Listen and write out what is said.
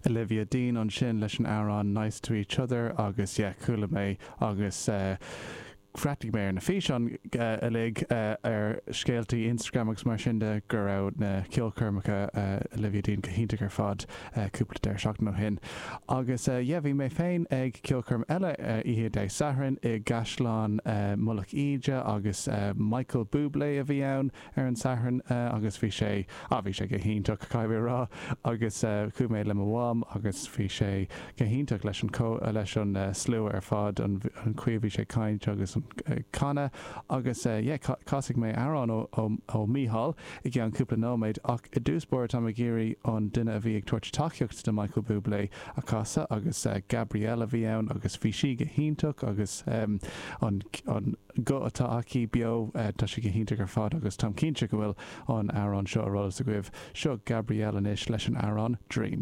Olivia Dean ansin leis an amhrán Nice to Each Other agus yeah chuala mé agus bhreathnaigh mé ar na físeáin uilig ar scéaltaí Instagram agus mar sin de go raibh na ceolchoirmeacha Olivia Dean go hiontach ar fad cúpla deireadh seachtaine ó shin. Agus yeah bhí mé féin ag ceolchoirm eile oíche Dé Sathairn i gCaisleán Mullach Íde agus Michael Bublé a bhí ann ar an Satharn agus bhí sé, ah bhí sé go hiontach, caithfidh mé a rá, agus chuaigh mé le mo mham agus bhí sé go hiontach leis an, leis an slua ar fad, an chaoi a bhí sé ag caint agus ag canadh agus yeah, casfaidh mé amhrán ó, ó Mícheál i gceann cúpla nóiméad ach i dtús báire táim ag iarraidh an duine a bhí ag tabhairt tacaíocht do Michael Bublé a chasadh agus Gabrielle a bhí ann agus bhí sí go hiontach agus an, an. guth atá aici beo, tá sé go hiontach ar fad agus táim cinnte go bhfuil an amhrán seo ar eolas agaibh. Seo Gabrielle anois leis an amhrán Dream.